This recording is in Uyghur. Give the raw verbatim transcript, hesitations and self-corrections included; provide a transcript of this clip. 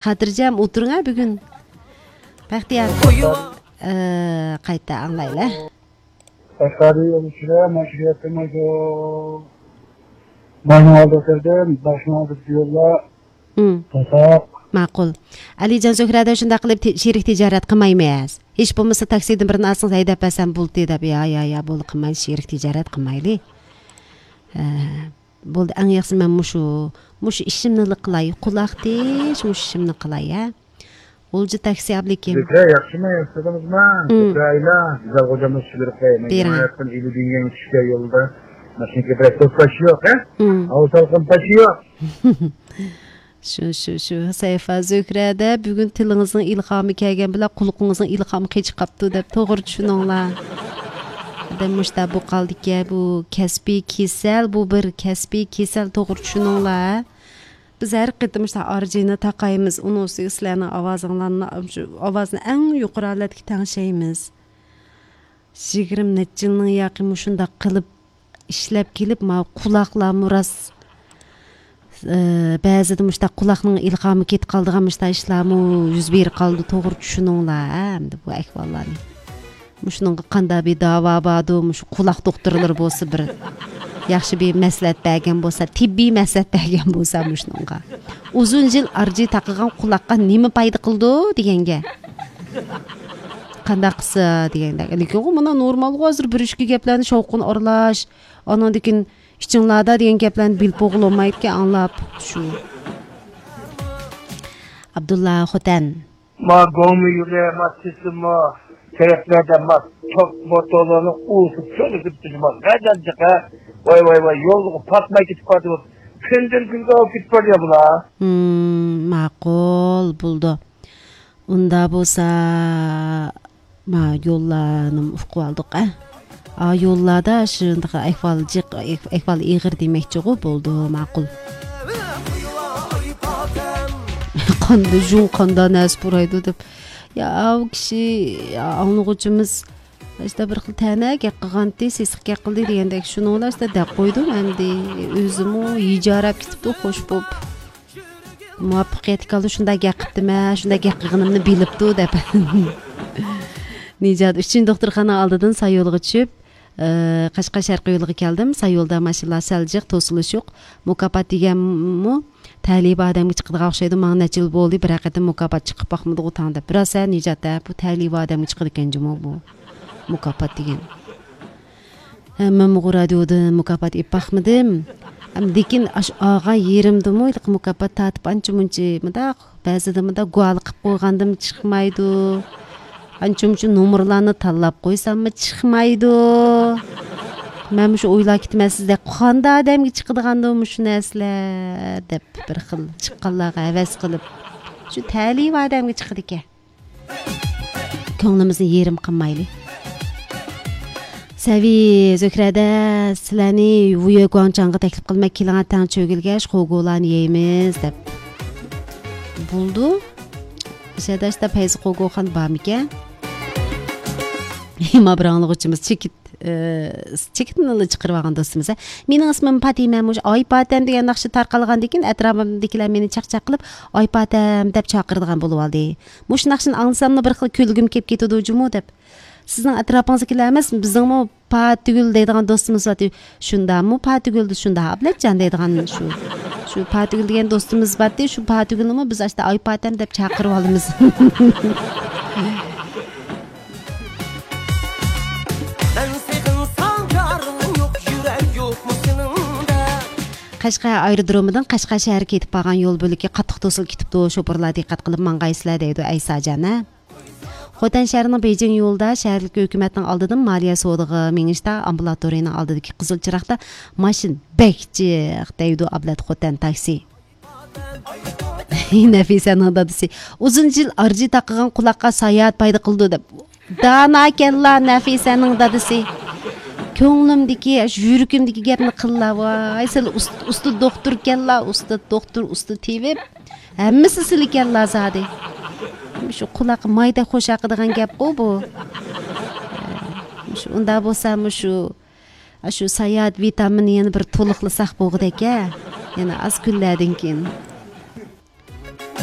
خاتىرجەم ئولتۇرۇڭ ھە بۈگۈن. بەختىيار. ئە، قايتا ئاڭلايلى. باشقارىدۇ يول ئىچىدە، ماشىنا يەتمەيدۇ. ماينىڭ ئالدى كىردىم، باشنىڭ ئالدى يولدا. مم. تاتاق. ماقۇل. ئەلىجان زۆھرەدە شۇنداق قىلىپ تى-، شېرىك تىجارەت قىلمايمىز. ھېچ بولمىسا تاكسىدىن بىرنى ئالسىڭىز ھەيدەپ بەرسەم بولدى دەپ، يا، يا، يا، بولدى قىلمايلى، شېرىك تىجارەت قىلمايلى. ھە. بولدى، ئەڭ ياخشىسى مەن مۇشۇ، مۇشۇ ئىشىمنىلا قىلاي، قۇلاق تىش، مۇشۇ ئىشىمنى قىلاي، ھە. غۇلجا تاكسى ئابلىكىم. زۆھرە، ياخشىمۇ، ياخشىمىزمۇ؟ مم. زۆھرە ئايلا، گۈزەل خوجامنىڭ سۈپۈرۈپ قوياي. مەن بېرىڭ. يېڭى ھاياتتىن ئېلى دۈنيەگە چۈشكەن يولدا ماشىنىكى بىرەر توسقاچ يوق، ھە؟ مم. ھاۋا سالقىن پاچى يوق. شۇ، شۇ، شۇ. سەيفا زۆھرەدە بۈگۈن تىلىڭىزنىڭ ئىلھامى كەلگەن بىلەن قۇلىقىڭىزنىڭ ئىلھامى قېچىپ قاپتۇ دەپ توغرا چۈشىنىڭلار. ئادەم مۇشتا بۇ قالدىكەن، بۇ كەسپىي كېسەل، بۇ بىر كەسپىي كېسەل، توغرا چۈشىنىڭلار. بىز ھەر قېتىم مۇشتا ئارجىنى تاقايمىز، ئۇنىڭ ئۈستىگە سىلەرنىڭ ئاۋازىڭلارنى، شۇ ئاۋازنى ئەڭ يۇقىرى ھالەتكە تەڭشەيمىز. يىگىرمە نەچچە يىلنىڭ ياقى مۇشۇنداق قىلىپ ئىشلەپ كېلىپ، ماۋۇ قۇلاقلارمۇ راست، ئى، بەزىدە مۇشۇنداق قۇلاقنىڭ ئىلھامى كېتىپ قالىدىغان مۇشۇنداق ئىشلارمۇ يۈز بېرىپ قالىدۇ، توغرا چۈشىنىڭلار، ھە، ئەمدى بۇ ئەھۋاللارنى. مۇشۇنىڭغا قانداق بىر داۋا باردۇ، مۇشۇ قۇلاق دوختۇرلىرى بولسا بىر ياخشى بىر مەسلىھەت بەرگەن بولسا، تېببىي مەسلىھەت بەرگەن بولسا مۇشۇنىڭغا. ئۇزۇن يىل ئارجى تاقىغان قۇلاققا نېمە پايدا قىلىدۇ دېگەنگە. قانداق قىلسا دېگەندەك. لېكىن ئۇ مانا نورمالغۇ، ھازىر بىر ئىككى گەپلەرنى شاۋقۇن ئارىلاش، ئاناندىن كېيىن ئىچىڭلاردا دېگەن گەپلەرنى بىلىپ بولغىلى بولمايدىكەن، ئاڭلاپ شۇ. ئابدۇللا خوتەن. ما گوڭمۇ يولى، ما تېسىمۇ تەرەپلەردە ما توك موتورلارنىڭ ئۇۋىسى چۆرۈلۈپ تۇرىدۇ، ما نەدەن چىقە؟ ۋاي، ۋاي، ۋاي، يولغا پاتماي كېتىپ قالدى، كۈندىن كۈنگە ئاۋۇپ كېتىپ بارىدۇ بۇلار. ھىم، ماقۇل، بولدى. ئۇندا بولسا، ما يوللارنىمۇ ئۇقۇۋالدۇق، ئە. ئا، يوللاردا شۇنداق ئەھۋال جىق، ئەھۋال ئېغىر دېمەكچىغۇ، بولدى، ماقۇل. قاندا جۇڭ، قاندا نەرسە پۇرايدۇ دەپ. يا، ئاۋۇ كىشى، يا، ئاڭلىغۇچىمىز، ئىشتە بىر خىل تەنە گەپ قىلغانتى، سېسىق گەپ قىلدى دېگەندەك، شۇنىڭ بىلەن ئىشتە دەپ قويدۇم ئەمدى. ئۆزىمۇ ھىجاراپ كېتىپتۇ، خوش بوپ. مۇۋەپپەقىيەتكە كەلدى، شۇنداق گەپ قىپتىمەن، شۇنداق گەپ قىلغىنىمنى بىلىپتۇ دەپ. نىجات، ئۈچىنچى دوختۇرخانا ئالدىدىن سايولغا چۈشۈپ، ئى، قەشقەر شەرقىي يولىغا كەلدىم. سايولدا ماشىنىلار سەل جىق، توسۇلۇش يوق. مۇكاپات دېگەنمۇ تەلىيى بار ئادەمگە چىقىدىغان ئوخشايدۇ. ماڭا نەچچە يىل بولدى، بىر قېتىم مۇكاپات چىقىپ باقمىدىغۇ تاڭ دەپ. راست ھە، نىجات ھە، بۇ تەلىيى بار ئادەمگە چىقىدىكەن جۇمۇ بۇ مۇكاپات دېگەن. ھە، مەنمۇ رادىيودىن مۇكاپات ئېلىپ باقمىدىم. ھەم لېكىن ئاشۇ ئالغان يېرىمدىمۇ ھېلىقى مۇكاپات تارتىپ ئانچە مۇنچە مۇنداق، بەزىدە مۇنداق گۇۋاھلىق قىلىپ قويغاندىمۇ چىقمايدۇ. ئانچە مۇنچە نومۇرلارنى تاللاپ قويساممۇ چىقمايدۇ. مەن مۇشۇ ئويلاپ كېتىمەن، سىزدەك قانداق ئادەمگە چىقىدىغاندۇ مۇشۇ نەرسىلەر دەپ بىر خىل چىققانلارغا ھەۋەس قىلىپ. شۇ تەلىيى بار ئادەمگە چىقىدىكەن. كۆڭلىمىزنى يېرىم قىلمايلى. سەۋى زۆھرەدە سىلەرنى ۋۇيۈ گۇاڭچاڭغا تەكلىپ قىلىمەن، كېلىڭە تەڭ چۆگىلىگەچ خوگولانى يەيمىز دەپ. بولدى. شەداشتا پەيزى خوگوخان بارمىكەن؟ ما بىر ئاڭلىغۇچىمىز چېكىت، ئى، چېكىتنىلا چىقىرىۋالغان دوستىمىز، ھە؟ مېنىڭ ئىسمىم پاتىمە، مۇشۇ ئاي پاتەم دېگەن ناخشا تارقالغاندىن كېيىن ئەتراپىمدىكىلەر مېنى چاقچاق قىلىپ، ئاي پاتەم دەپ چاقىرىدىغان بولۇۋالدى. مۇشۇ ناخشىنى ئاڭلىساملا بىر خىل كۈلگۈم كېلىپ كېتىدۇ جۇمۇ دەپ. سىزنىڭ ئەتراپىڭىزدىكىلەر ئەمەس، بىزنىڭمۇ پاتىگۈل دەيدىغان دوستىمىز بارتى. شۇنداقمۇ پاتىگۈل، شۇنداق ئابلەتجان دەيدىغان شۇ. شۇ پاتىگۈل دېگەن دوستىمىز بارتى، شۇ پاتىگۈلنىمۇ بىز ئاشتا ئاي پاتەم دەپ چاقىرىۋالىمىز. مەن سېغىنسام يارىڭ يوق، يۈرەك يوقمۇ سېنىڭدە؟ قەشقەر ئايرودرومىدىن قەشقەر شەھىرىگە كېتىپ بارغان يول بۆلىكى قاتتىق توسۇلۇپ كېتىپتۇ، شوپۇرلار دىققەت قىلىپ ماڭغايسىلەر دەيدۇ ئەيساجان، ھە؟ خوتەن شەھىرىنىڭ بېيجىڭ يولىدا شەھەرلىك ھۆكۈمەتنىڭ ئالدىدىن مالىيە سودىغا مېڭىشتا ئامبۇلاتورىيىنىڭ ئالدىدىكى قىزىل چىراغدا ماشىنا بەك جىق دەيدۇ ئابلەت خوتەن تاكسى. نەفىسەنىڭ دادىسى ئۇزۇن يىل ئارجى تاقىغان قۇلاققا ساياھەت پايدا قىلىدۇ دەپ. داناكەنلا نەفىسەنىڭ دادىسى. كۆڭلۈمدىكى، يۈرىكىمدىكى گەپنى قىللا، ۋاي، سىلى ئۇست-، ئۇستا دوختۇركەنلا، ئۇستا دوختۇر، ئۇستا تېۋىپ. ھەممىسى سىلىكەنلا زادى. شۇ قۇلاققا مايدەك خوش ياقىدىغان گەپقۇ بۇ. شۇ ئۇنداق بولسا، مۇشۇ، شۇ ساياھەت ۋىتامىنى يەنە بىر تولۇقلىساق بولغۇدەك ھە. يەنە ئاز كۈنلەردىن كېيىن.